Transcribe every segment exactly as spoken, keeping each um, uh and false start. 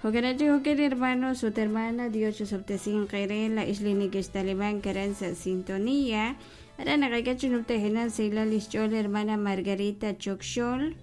Jo'kan chi jo'kan, hermanos ut hermana, Dios chisob'tesinq eere laa'ex li nekextalimank aran sa' sintonía. Aran naqak'e chi numtajenaq sahilal lix ch'ool hermana Margarita Chokxol.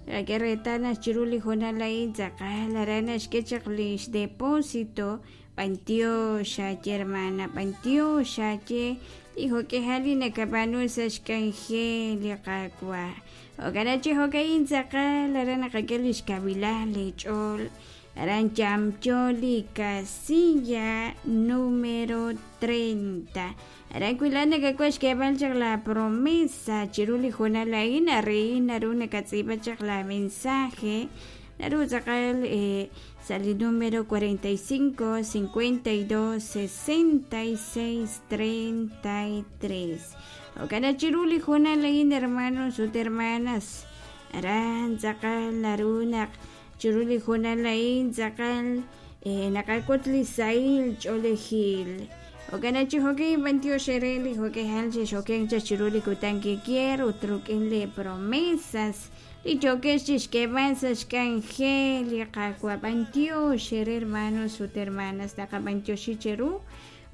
Naqak'e reetal naq chiru li hoonal a'in tz'aqal aran naxk'e chaq lix depósito. B'antiox aaye, hermana, b'antiox aaye li jo'k'ihal li nakab'aanu sa' xk'anjel li Qaawa'. Jo'kan chi jo'ka'in tz'aqal aran naqak'e lix kavilal li ch'ool aran yamyo li casilla número treinta. Aran wi laa'at nakak'ul xk'eeb'al chaq la promesa chiru li hoonal a'in, arin naru nakatz'iib'a chaq la mensaje naru tz'aqal eh, sa' li número cuarenta y cinco, cincuenta y dos, sesenta y seis, treinta y tres. Jo'kan chiru li hoonal a'in, hermanos ut hermanas, aran tz'aqal naru naq chiru li hoonal a'in tz'aqal eh, naqak'ut li sahil ch'oolejil. Jo'kan chi jo'kan b'antiox eere li jo'k'ihal xexokenk chaq chiru li kutan kikier ut rik'in li promesas li yo'kex chixk'eeb'al sa' xk'anjel li Qaawa'. B'antiox eere, hermanos ut hermanas, naqab'antioxi cheru.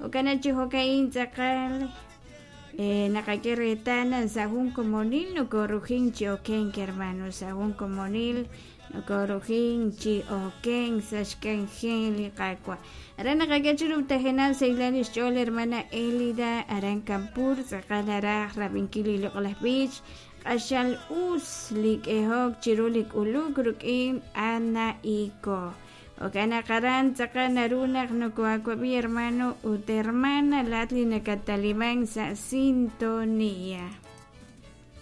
Jo'kan chi jo'ka'in tz'aqal eh, naqak'e reetal naq sa' jun komonil nokorujin chi okenk, hermanos, sa' jun komonil nokorujin chi okenk sa' xk'anjel li Qaawa'. Aran naqak'e chi numtajenaq sahilal lix ch'ool hermana Elida aran Campur, tz'aqal araj rab'inkil li loq'laj b'ich q'axal us li k'ehok chiru li k'uluk rik'in Ana Iko. Jo'kan naq aran tz'aqal naru naq noko'awab'i, hermano ut hermana, laa'at li nakatalimank sa' sintonía.